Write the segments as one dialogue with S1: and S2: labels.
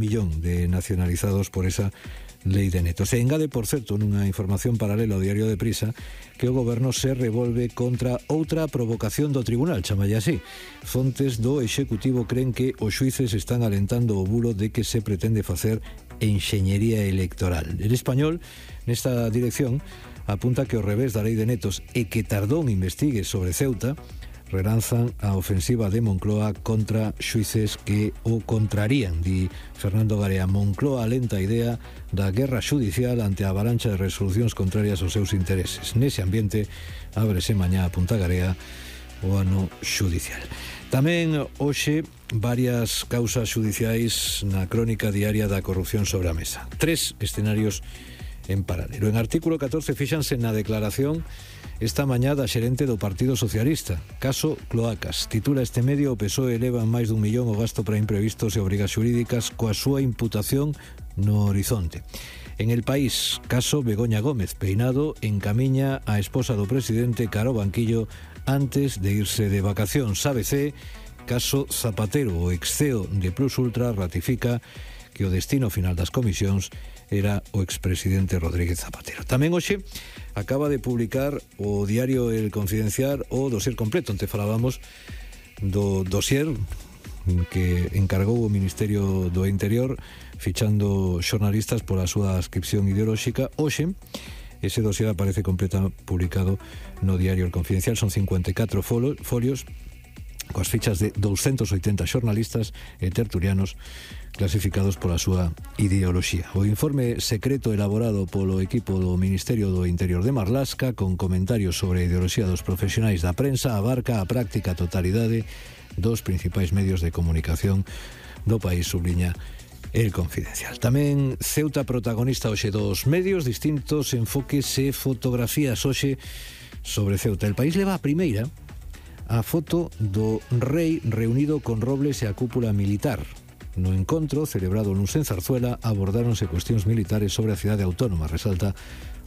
S1: millón de nacionalizados por esa lei de netos. E engade, por certo, nunha información paralela ao Diario de Prisa, que o goberno se revolve contra outra provocación do tribunal, chamalle así. Fontes do Executivo creen que os xuíces están alentando o bulo de que se pretende facer enxeñería electoral. El Español, nesta dirección, apunta que ao revés da lei de netos e que Tardón investigue sobre Ceuta, relanzan a ofensiva de Moncloa contra xuíces que o contrarían, di Fernando Garea. Moncloa alenta a idea da guerra xudicial ante a avalancha de resolucións contrarias aos seus intereses. Nese ambiente, ábrese mañá a Punta Garea o ano xudicial. Tamén hoxe varias causas xudiciais na crónica diaria da corrupción sobre a mesa. 3 escenarios en paralelo. En artículo 14 fíxanse na declaración esta mañá da xerente do Partido Socialista. Caso Cloacas. Titula este medio: o PSOE eleva en máis dun millón o gasto para imprevistos e obrigas xurídicas coa súa imputación no horizonte. En El País, caso Begoña Gómez. Peinado encamiña a esposa do presidente cara ao banquillo antes de irse de vacacións. ABC, caso Zapatero. O ex-CEO de Plus Ultra ratifica que o destino final das comisións era o expresidente Rodríguez Zapatero. Tamén hoxe acaba de publicar o diario El Confidencial o dossier completo, onde falábamos do dossier que encargou o Ministerio do Interior fichando xornalistas pola súa adscripción ideolóxica. Hoxe ese dossier aparece completo publicado no diario El Confidencial. Son 54 folios coas fichas de 280 xornalistas e tertulianos clasificados pola súa ideoloxía. O informe secreto elaborado polo equipo do Ministerio do Interior de Marlaska, con comentarios sobre a ideoloxía dos profesionais da prensa, abarca a práctica totalidade dos principais medios de comunicación do país, subliña El Confidencial. Tamén Ceuta protagonista hoxe dos medios, distintos enfoques e fotografías hoxe sobre Ceuta. El País leva a primeira a foto do rei reunido con Robles e a cúpula militar. No encontro, celebrado nun en Zarzuela, abordáronse cuestións militares sobre a cidade autónoma, resalta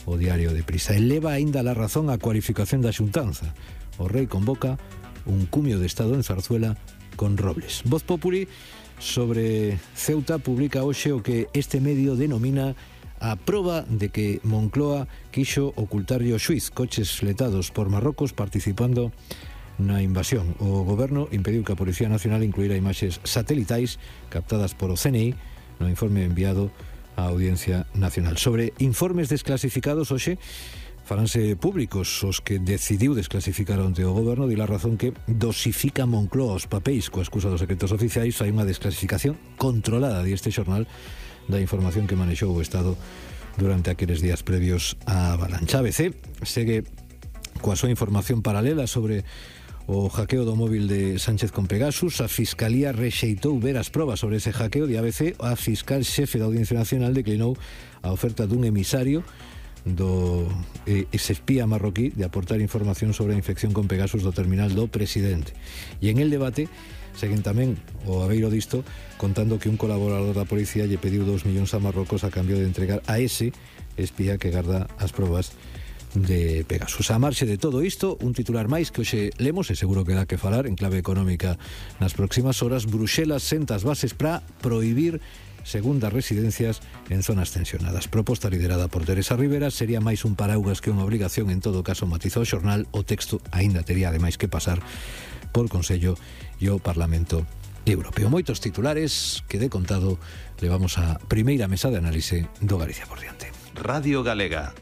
S1: o Diario de Prisa. Eleva aínda la razón a cualificación da xuntanza. O rei convoca un cumio de Estado en Zarzuela con Robles. Voz Populi sobre Ceuta publica hoxe o que este medio denomina a proba de que Moncloa quixo ocultarlle o xuiz, coches fletados por Marrocos participando na invasión. O goberno impediu que a Policía Nacional incluíra imaxes satelitais captadas por o CNI no informe enviado á Audiencia Nacional. Sobre informes desclasificados hoxe faranse públicos os que decidiu desclasificar onte o goberno. Di la razón que dosifica Moncloa os papéis coa excusa dos secretos oficiais. Hai unha desclasificación controlada, di este xornal, da información que manexou o Estado durante aqueles días previos á avalancha. ABC segue coa súa información paralela sobre o hackeo do móvil de Sánchez con Pegasus. A Fiscalía rexeitou ver as probas sobre ese hackeo. De ABC, a fiscal xefe da Audiencia Nacional declinou a oferta dun emisario do ese espía marroquí de aportar información sobre a infección con Pegasus do terminal do presidente. E en el debate seguen tamén o abeiro disto contando que un colaborador da policía lle pediu 2 millóns a Marrocos a cambio de entregar a ese espía que garda as probas de Pegasus. A marxe de todo isto, un titular máis que hoxe lemos e seguro que dá que falar en clave económica nas próximas horas. Bruxelas senta as bases para prohibir segundas residencias en zonas tensionadas. Proposta liderada por Teresa Rivera, sería máis un paraugas que unha obligación. En todo caso, matizou o xornal, o texto aínda tería ademais que pasar por Consello e o Parlamento Europeo. Moitos titulares que de contado levamos a primeira mesa de análise do Galicia por diante.
S2: Radio Galega.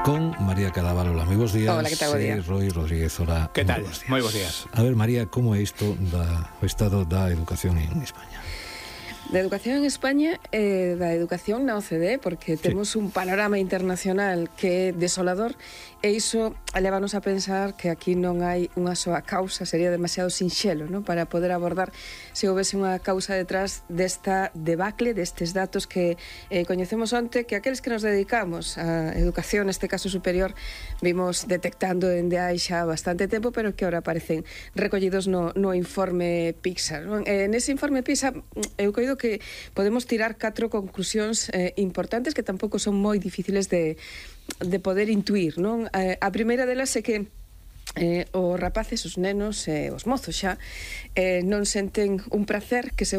S1: Con María Cadaval. Hola, moi bons días.
S3: Hola, que tal? Buen día.
S1: Roy Rodríguez, hola.
S4: Que tal? Moi bons días.
S1: A ver, María, como é isto o estado da educación en España?
S3: Da educación en España e da educación na OCDE, porque temos un panorama internacional que é desolador, e iso levanos a pensar que aquí non hai unha soa causa, sería demasiado sinxelo, ¿no?, para poder abordar se houvese unha causa detrás desta debacle, destes datos que coñecemos onte, que aqueles que nos dedicamos a educación, neste caso superior, vimos detectando dende hai xa bastante tempo, pero que ahora aparecen recollidos no informe PISA, ¿no? Nese informe PISA eu coido que podemos tirar 4 conclusións importantes que tampouco son moi difíciles de poder intuir, non? A primeira delas é que os rapaces, os nenos e os mozos xa non senten un placer que seguro